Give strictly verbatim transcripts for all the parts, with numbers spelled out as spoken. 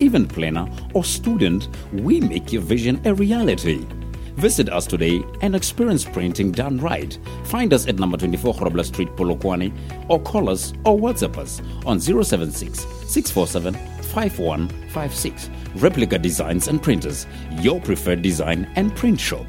Event planner, or student, we make your vision a reality. Visit us today and experience printing done right. Find us at number twenty-four Grobler Street, Polokwane, or call us or WhatsApp us on zero seven six, six four seven, five one five six. Replica Designs and Printers, your preferred design and print shop.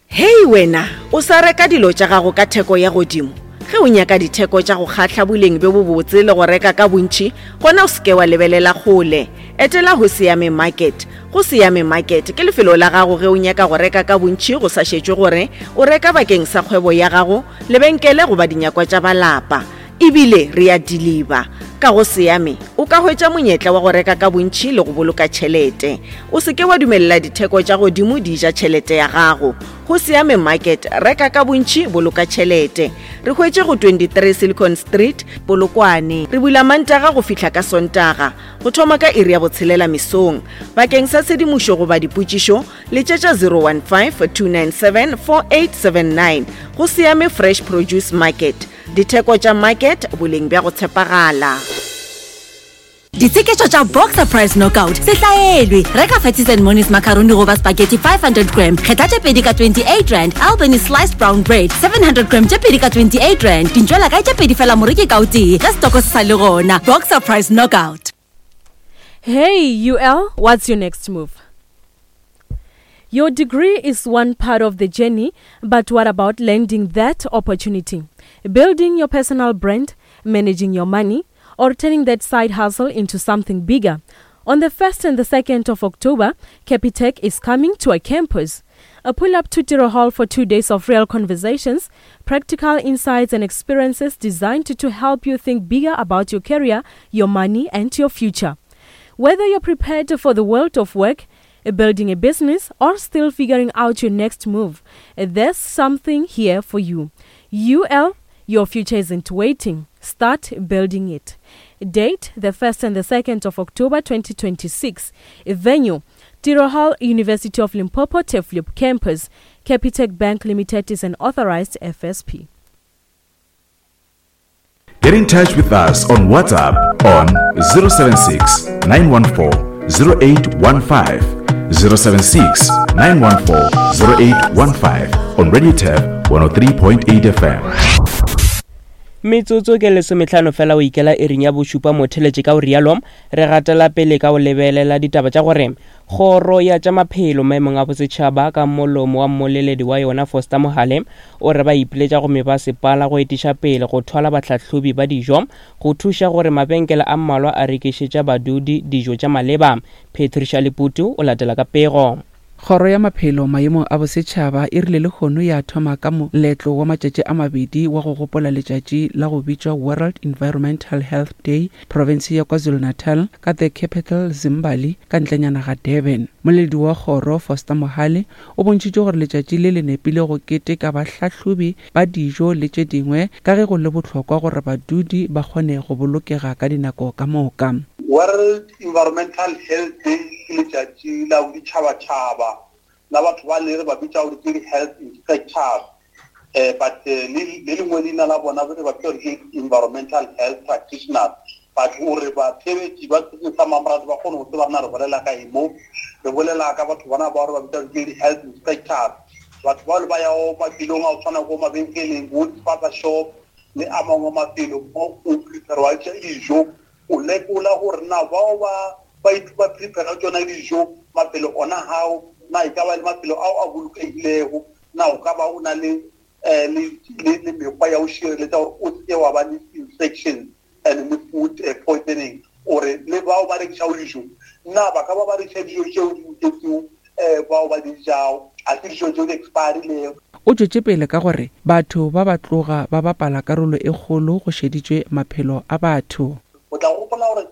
Hei wena, o sa reka dilo tša gago ka theko ya godimo? Ge o nyaka ditheko tša go kgahla, boleng bjo bobotse le go reka ka bontši, gona o se ke wa lebelela kgole. Etela Go Siame Market. Go Siame Market ke lefelo la gago ge o nyaka go reka ka bontši, go sa šetšwe gore o reka bakeng sa kgwebo ya gago, lebenkele goba dinyakwa tša balapa. Ebile re a deliver. Ka Go Siame o ka hwetša monyetla wa go reka ka bontši le go boloka tšhelete. O se ke wa dumelela ditheko tša godimo di ja tšhelete ya gago. Go Siame Market, reka ka bontši, boloka tšhelete. Re hwetše go twenty-three Silicon Street, Polokwane. Re bula Mantaga go fihla ka Sontaga, go thoma ka iri ya botshelela mesong. Bakeng sa tshedimošo goba dipotšišo, letšetša zero one five, two nine seven, four eight seven nine. Go Siame Fresh Produce Market. Ditheko tša market, boleng bja go tshepagala. Ditsheketšo tša Boxer Price Knockout se hlaelwe. Reka Fatties and Monies macaroni goba spaghetti five hundred gram, kgetha tše pedi ka twenty-eight rand. Albany sliced brown bread seven hundred gram tše pedi ka twenty-eight rand. Dintšwela kae tše pedi fela moreki ka o tee, ge stoko se sa le gona. Boxer Price Knockout. Hey U L, what's your next move? Your degree is one part of the journey, but what about landing that opportunity? Building your personal brand, managing your money, or turning that side hustle into something bigger? On the first and the second of October, Capitec is coming to a campus. A pull up to Tiro Hall for two days of real conversations, practical insights and experiences designed to, to help you think bigger about your career, your money, and your future. Whether you're prepared for the world of work, building a business, or still figuring out your next move, there's something here for you. U L, your future isn't waiting. Start building it. Date, the first and the second of October twenty twenty-six. Venue, Tiro Hall, University of Limpopo, Turfloop Campus. Capitec Bank Limited is an authorized F S P. Get in touch with us on WhatsApp on zero seven six, nine one four, zero eight one five, zero seven six, nine one four, zero eight one five on Radio Turf one oh three point eight F M. Metsotso ke lesometlhano fela o ikela ering ya bošupa motheletše ka o rialo, re gatela pele ka o lebelela ditaba tša gore kgoro ya tša maphelo maemong a bosetšhaba ka molomo wa mmoleledi wa yona Foster Mohale o re ba ipiletša go mebasepala go etiša pele go thwala bahlahlobi ba dijo go thuša gore mabenkele a mmalwa a rekišetša badudi dijo tša maleba. Patricia Leputu o latela ka pego. Kgoro ya maphelo maemong a bosetšhaba e rile lehono ya thoma ka moletlo wa matšatši a mabedi wa go gopola letšatši la go bitšwa World Environmental Health Day province ya KwaZulu-Natal ka the capital Zimbali ka ntlenyana ga Durban. Moledi wa kgoro Foster Mohale o bontšhitše gore letšatši le le nepile go keteka bahlahlobi ba dijo le tše dingwe ka ge go le bohlokwa gore badudi ba kgone go bolokega ka dinako ka moka. World Environmental Health Day ke letšatši la boditšhabatšhaba la batho ba le re ba bitša gore ke di-health inspectors, eh, but, eh, le, le lengwe leina la bona re ba bitša gore ke environmental health practitioners. But gore batheetši ba setseng sa Mamorati ba kgone go tseba rena re bolela ka eng mo, re bolela ka batho bona ba re ba bitša gore ke di-health inspectors. Batho bao le ba yago mafelong a go tshwana ko mabenkeleng, bo di-spaza shop le a mangwe mafelo mo o prepare-wa dijo, o lekola gore na bao ba, ba ithu-, ba prepare tšona dijo mafelo ona hao, na e ka ba le mafelo ao a bolokegilego, na o ka ba o na le, eh, le, le, le mekgwa ya go šireletša gore o seke wa ba le infection and le food, eh, poisoning. Ore le bao ba rekišago dijo, na ba ka ba ba rekiša dijo tšeo di loketšego, eh, bao ba di jago, a se dijo tšeo di expirilego. O tšwetše pele ka gore batho ba ba tloga ba bapala karolo e kgolo go šeditšwe maphelo a batho. O tla gopola gore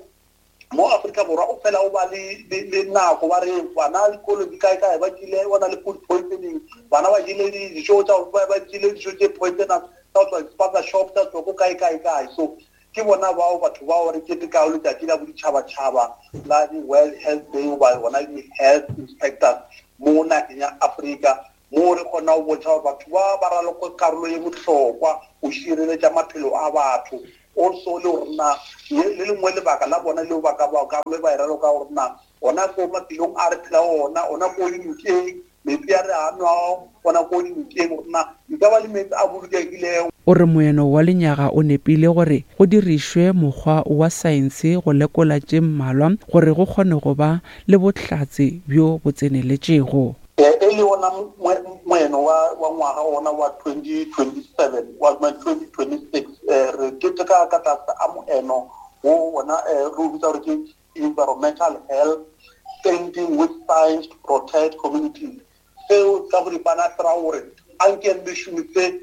mo Afrika Borwa o fela o ba le, le, le nako ba re bana dikolo di kae kae ba jele, ba na le food poisoning, bana ba jele dijo tša, ba, ba jele dijo tše poisonous tsa go tswa di-spaza shop, tsa tswa ko kae, kae, kae. So ke bona bao batho bao re ketekago letšatši la boditšhabatšhaba la di-World Health Day goba bona di-health inspectors mo nageng ya Afrika, mo re kgona go bontšha gore batho ba ba raloka karolo ye bohlokwa go šireletša maphelo a batho. Also le gore na le lengwe lebaka la bona leo ba ka ba ka ba e raloka gore na ona ko mafelong a re phela ona ona ko dinokeng metsi a re a nwago ona ko dinokeng gore na di ka ba le metsi a bolokegilego. O re moeno wa lenyaga o nepile gore go dirišwe mokgwa wa saense go lekola tše mmalwa gore go kgone go ba le bohlatse bjo bo tseneletšego. E le ona moeno wa wa ngwaga ona wa twenty twenty-seven wa twenty twenty-six re keteka ka tlase a moeno wo ona re o bitsa gore ke environmental health standing with science to protect communities. Seo ka boripana se ra gore anke re šomise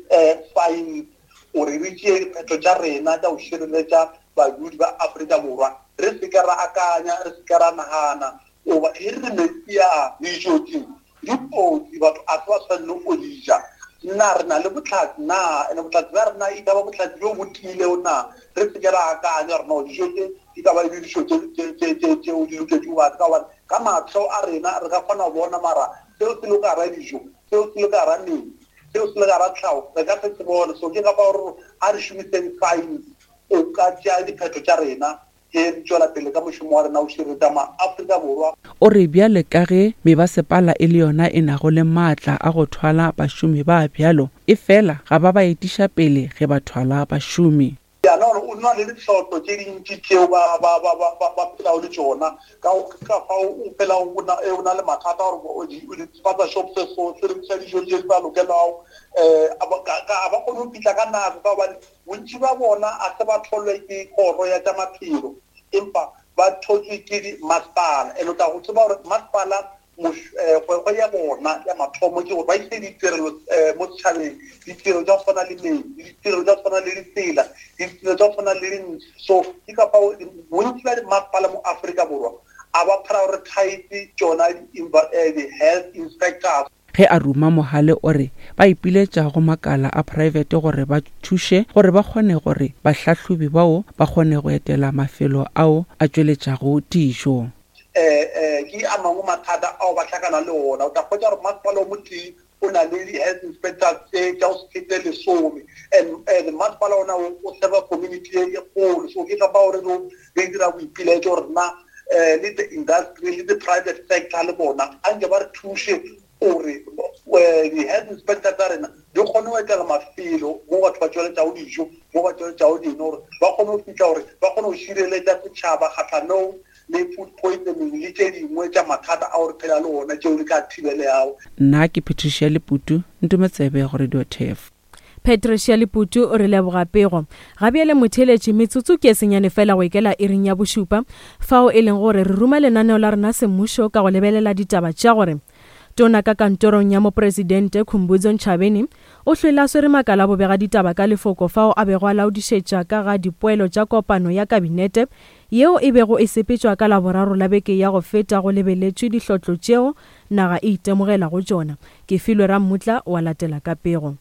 science gore re tšee diphetho tša rena tša go šireletša badudi ba Afrika Borwa, re se ke ra akanya, re se ke ra nagana goba e re metsi a dijo tše di kotsi, batho a se ba tshwanele go di ja. Nna re na le bohlatse na, ene bohlatse bja rena e ka ba bohlatse bjo bo tiilego na, re se ke ra akanya gore no dijo tše di ka ba e le dijo tšeo di loketšego batho, ka gobane ka mahlo a rena re ka kgona go bona mara seo se le ka gara dijo, seo se le ka gara metsi, seo se le ka gara tlhago, re ka se se bone. So ke ka fao gore a re šomiseng science o ka tšea diphetho tša rena ge re tšwela pele ka mošomo wa rena o šireletša maAfrika Borwa. O re bjale ka ge mebasepala e le yona e nago le maatla a go thwala bašomi ba bjalo, e fela ga ba ba etiša pele ge ba thwala bašomi. Ya no o na le ditlhotlo tše dintši tšeo ba ba ba ba ba phelago le tšona, ka ka fao o phela o na o na le mathata gore o di spaza shop se so se rekisa dijo tše di sa lokelago, eh a ba kgone go fihla ka nako ka gobane bontši ba bona a se ba tholwe ke kgoro ya tša maphelo, empa ba thotswe ke di masepala. And o tla go tseba gore masepala kgwebo ya bona ya mathomo ke gore ba ise ditirelo mo setšhabeng, ditirelo tša go tshwana le metsi, ditirelo tša go tshwana le ditsela, ditirelo tša go tshwana le dintlo. So ke ka fao bontši ba masepala mo Afrika Borwa a ba prioritize tšona di-health inspectors. Ge a ruma Mohale o re ba ipiletša go makala a private gore ba thuše gore ba kgone gore bahlahlobi bao ba kgone go etela mafelo ao a tšweletšago dijo. Eh eh ke a mangwe mathata ao ba hlakana le ona. O tla hwetša gore masepala o motee o na le di-health inspectors tše tša go se fete lesome, and and masepala ona o serva community e kgolo. So ke ka fao re re dira boipiletšo gore na le the industry le the private sector le bona anke ba re thuše gore di-health inspector tsa rena di kgone go etela mafelo mo batho ba tšweletšago dijo, mo ba tšweletšago dino, gore ba kgone go fihla gore ba kgone go šireletša setšhaba kgahlanong le food poisoning le tše dingwe tša mathata ao re phela le ona tšeo di ka thibeleago. Nna ke Patricia Leputu, Ntometsebe go Radio Turf. Patricia Leputu o re leboga pego. Ga bjale motheeletši, metsotso ke e senyane fela go ikela iring ya bošupa, fao e leng gore re ruma lenaneo la rena semmušo ka go lebelela ditaba tša gore tona ka kantorong ya mopresidente Khumbudzo Ntshavheni o hlwele a swere makala a bobega ditaba ka lefoko fao a bego a laodišetša ka ga dipoelo tša kopano ya kabinete yeo e bego e sepetšwa ka Laboraro la beke ya go feta go lebeletšwe dihlotlo tšeo naga e itemogelago tšona. Ke filwe Rammutla wa latela ka pego.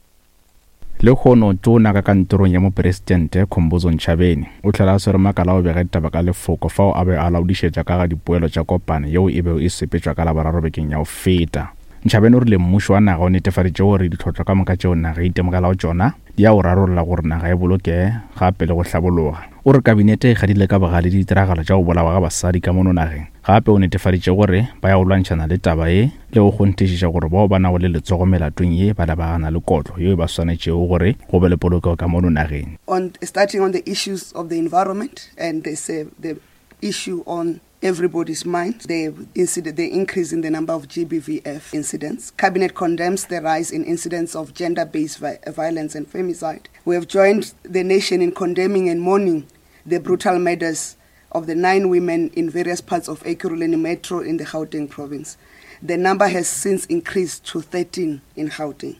Lehono tona ka kantorong ya mopresidente Khumbudzo Ntshavheni o hlola a swere makala a go bega ditaba ka lefoko fao a be a laodišetša ka ga dipoelo tša kopano yeo e bego e sepetšwa ka Laboraro bekeng ya go feta. Ntshavheni o rile mmušo wa naga o netefaditše gore ditlhotlo ka moka tšeo naga e itemogelago tšona di ya go rarolla gore naga e bolokege gape le go hlabologa. O re kabinete e kgadile ka bogale ditiragalo tša go bolawa ga basadi ka mono nageng. Gape o netefaditše gore ba ya go lwantšhana le taba ye le go kgonthišiša gore bao ba nago le letsogo melatong ye ba lebagana le kotlo yeo ba swanetšego gore go be le polokego ka mono nageng. On starting on the issues of the environment and they say the issue on everybody's mind, the incident, the increase in the number of G B V F incidents. Cabinet condemns the rise in incidents of gender-based vi- violence and femicide. We have joined the nation in condemning and mourning the brutal murders of the nine women in various parts of Ekurhuleni Metro in the Gauteng province. The number has since increased to thirteen in Gauteng.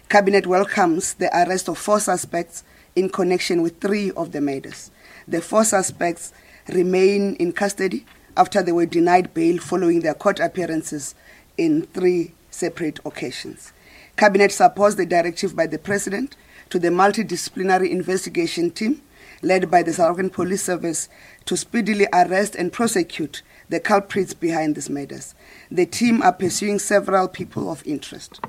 Cabinet welcomes the arrest of four suspects in connection with three of the murders. The four suspects remain in custody after they were denied bail following their court appearances in three separate occasions. Cabinet supports the directive by the President to the multidisciplinary investigation team led by the South African Police Service to speedily arrest and prosecute the culprits behind these murders. The team are pursuing several people of interest.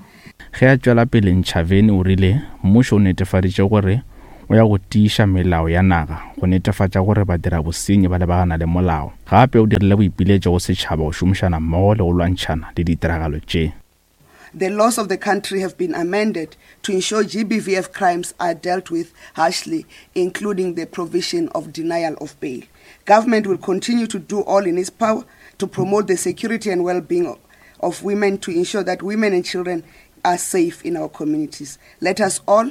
Ge a tšwela pele, Ntshavheni o rile mmušo o netefaditše gore o ya go tiiša melao ya naga go netefatša gore badirabosenyi ba lebagana le molao. Gape o dirile boipiletšo go setšhaba go šomišana mmogo le go lwantšhana le ditiragalo tše. The laws of the country have been amended to ensure G B V F crimes are dealt with harshly, including the provision of denial of bail. Government will continue to do all in its power to promote the security and well-being of women, to ensure that women and children are safe in our communities. Let us all,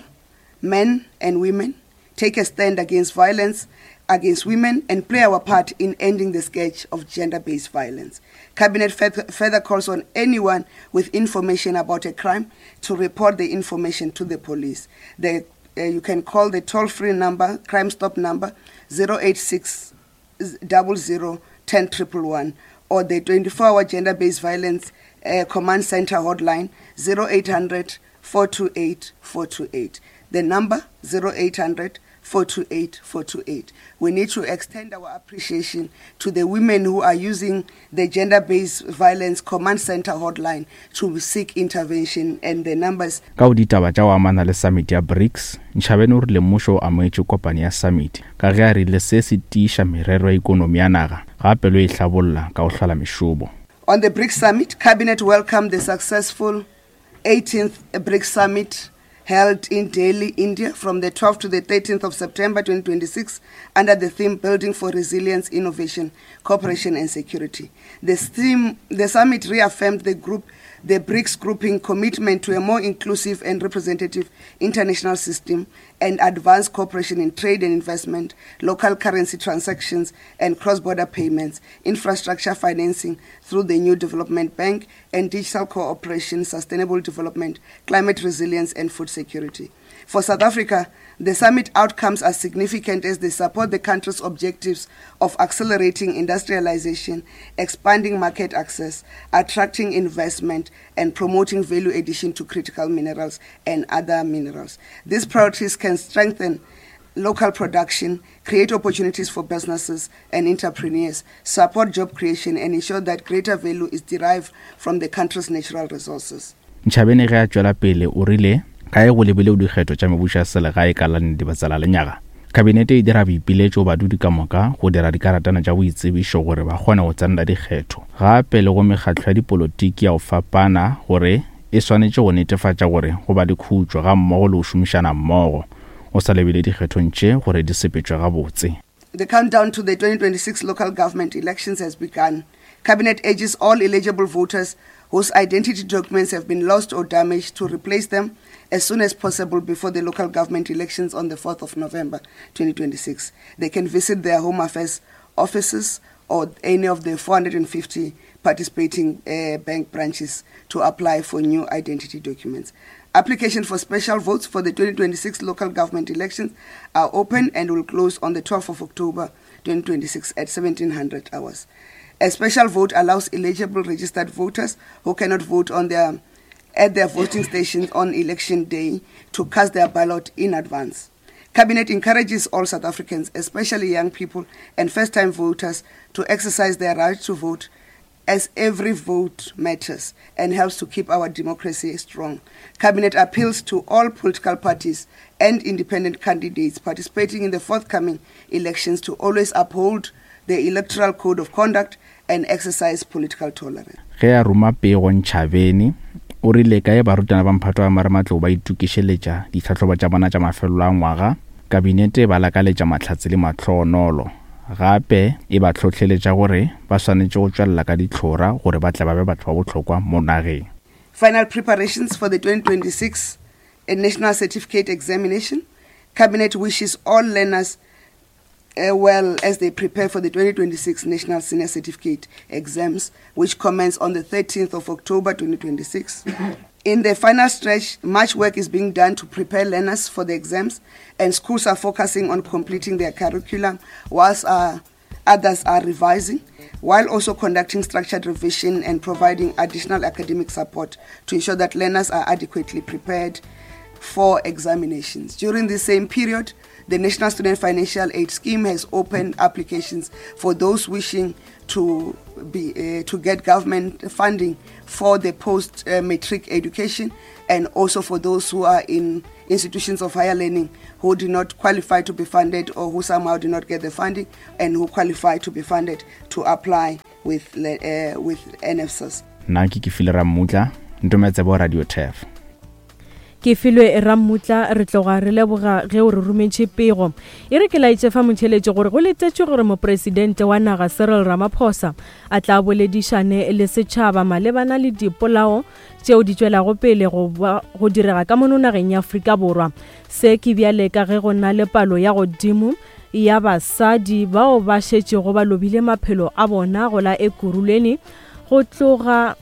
men and women, take a stand against violence against women and play our part in ending the scourge of gender-based violence. Cabinet further calls on anyone with information about a crime to report the information to the police. The, uh, you can call the toll-free number, Crime Stop number, zero eight six double zero ten triple one, or the twenty-four hour gender-based violence, uh, command center hotline, zero eight hundred four two eight four two eight. The number, zero eight hundred four two eight four two eight. We need to extend our appreciation to the women who are using the Gender-Based Violence Command Center hotline to seek intervention, and the numbers. Ka o ditaba tša go amana le summit ya BRICS, Ntshavheni o rile mmušo o amogetše kopano ya summit ka ge a rile se se tiiša merero ya ikonomi ya naga gape le e hlabolla ka go hlola mešomo. On the BRICS summit, Cabinet welcomed the successful eighteenth BRICS summit held in Delhi, India, from the twelfth to the thirteenth of September twenty twenty-six under the theme Building for Resilience, Innovation, Cooperation and Security. The, theme, the summit reaffirmed the group, the BRICS grouping commitment to a more inclusive and representative international system and advanced cooperation in trade and investment, local currency transactions and cross-border payments, infrastructure financing through the new development bank, and digital cooperation, sustainable development, climate resilience and food security. For South Africa, the summit outcomes are significant as they support the country's objectives of accelerating industrialization, expanding market access, attracting investment, and promoting value addition to critical minerals and other minerals. These priorities can strengthen local production, create opportunities for businesses and entrepreneurs, support job creation, and ensure that greater value is derived from the country's natural resources. Ntshavheni ge a tšwela pele o rile ka e go lebile dikgetho tša mebušo ya selegae ka la Dibatsela lenyaga. Kabinete e dira boipiletšo badudi ka moka go dira dikaratana tša boitsebišo gore ba kgone go tsenela dikgetho. Gape le go mekgatlo ya dipolotiki ya go fapana gore e swanetše go netefatša gore go ba le khutšo ga mmogo le go šomišana mmogo o sa lebile dikgethong tše gore di sepetšwe gabotse. The countdown to the twenty twenty-six local government elections has begun. Cabinet urges all eligible voters whose identity documents have been lost or damaged to replace them as soon as possible before the local government elections on the fourth of November twenty twenty-six. They can visit their Home Affairs offices or any of the four hundred fifty participating uh, bank branches to apply for new identity documents. Application for special votes for the twenty twenty-six local government elections are open and will close on the twelfth of October twenty twenty-six at seventeen hundred hours. A special vote allows eligible registered voters who cannot vote on their at their voting stations on election day to cast their ballot in advance. Cabinet encourages all South Africans, especially young people and first-time voters, to exercise their right to vote, as every vote matters and helps to keep our democracy strong. Cabinet appeals to all political parties and independent candidates participating in the forthcoming elections to always uphold the electoral code of conduct and exercise political tolerance. Ge a roma pego Ntshavheni o rile kae barutwana ba mphato wa marematlou ba itokišeletša ditlhahlobo tša bona tša mafelo a ngwaga, kabinete e ba lakaletša mahlatse le mahlonolo. Gape e ba hlohleletša gore ba swanetše go tšwelela ka ditlhora gore ba tle ba be batho ba bohlokwa mo nageng. Final preparations for the twenty twenty-six National Certificate Examination. Cabinet wishes all learners uh, well as they prepare for the twenty twenty-six National Senior Certificate Exams, which commence on the thirteenth of October twenty twenty-six. In the final stretch, much work is being done to prepare learners for the exams, and schools are focusing on completing their curriculum whilst uh, others are revising, while also conducting structured revision and providing additional academic support to ensure that learners are adequately prepared for examinations. During the same period, The National Student Financial Aid Scheme has opened applications for those wishing to be uh, to get government funding for the post-matric education, and also for those who are in institutions of higher learning who do not qualify to be funded or who somehow do not get the funding and who qualify to be funded to apply with, uh, with N F S A S. Nna ke Kefile Rammutla, Ntometsebo Radio Turf. Ke filwe Rammutla, re tloga re leboga ge o re rometše pego. E re ke laetše fa motheletše gore go letetšwe gore mopresidente wa naga Cyril Ramaphosa a tla boledišane le setšhaba malebana le dipolao tšeo di tšwelago pele go go direga ka mono nageng ya Afrika Borwa. Se ke bjale ka ge go na le palo ya godimo ya basadi bao ba šetšego ba lobile maphelo a bona go la Ekurhuleni go tloga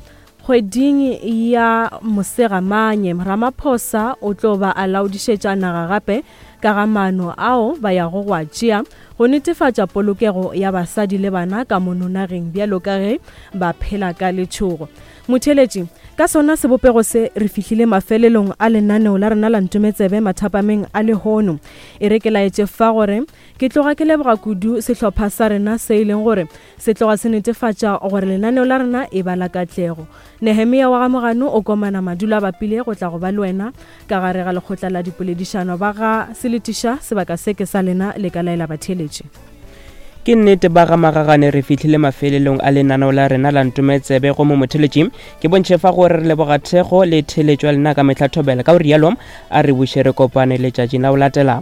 kgweding ya Mosegamanye. Ramaphosa o tlo ba a laodišetša naga gape ka ga maano ao ba yago go a tšea go netefatša polokego ya basadi le bana ka mono nageng bjalo ka ge ba phela ka letšhogo. Motheletši, ka sona sebopego se re fihlile mafelelong a lenaneo la rena la Ntometsebe mathapameng a lehono. E re ke laetše fa gore ke tloga ke leboga kudu sehlopha sa rena se e leng gore se tloga se netefatša gore lenaneo la rena e ba la katlego. Nehemia wa Gamogano o komana madula a bapile go tla go ba le wena ka gare ga lekgotla la dipoledišano ba ga seletiša sebaka se ke sa lena le ka laela batheletši. Ke nnete ba ga Magagane re fihlile mafelelong a lenaneo la rena la Ntometsebe go mo motheletši. Ke bontšhe fa gore re leboga thekgo le theletšo ya lena ka mehla thobela. Ka o rialo a re buše re kopane letšatšing la go latela.